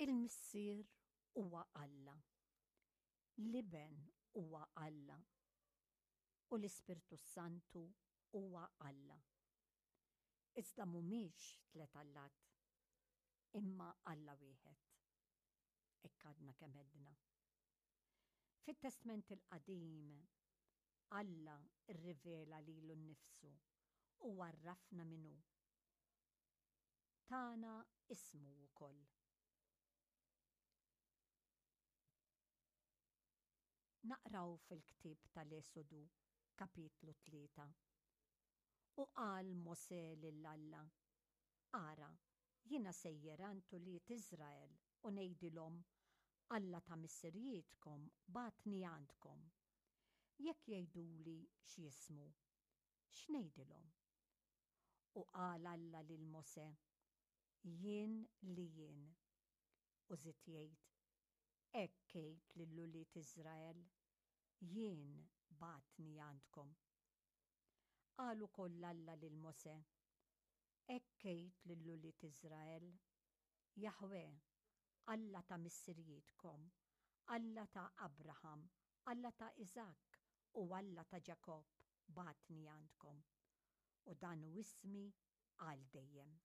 Il-Missier huwa Alla. L-Iben huwa Alla. U l-Ispirtu s-Santu huwa Alla. Iżda mhumiex tlet allat, imma Alla wieħed. Hekk għadna kemm għedna. Fit-Testment il-Qadim, Alla rrivela lilu nnifsu u għarrafna min hu. Tana ismu wkoll. Naqraw fil-ktieb tal-Esodu, kapitlu 3. U qal Mosè lil Alla, Ara, jiena sejjer għand ulied Iżrael u ngħidilhom, 'Alla ta' missirijietkom bagħatni għandkom. Jekk jgħiduli x'jismu, x'ngħidilhom? U qal Alla lil Mosè, Jien li jien. U żied jgħid, Hekk għid lil ulied Iżrael, 'Jien bagħatni għandkom. Qal ukoll Alla lil Mosè, Hekk għid lil ulied Iżrael, 'Jaħwè, Alla ta' missirijietkom, Alla ta' Abraham, Alla ta' Iżakk u Alla ta' Ġakobb bagħatni għandkom. U dan hu ismi għal dejjem.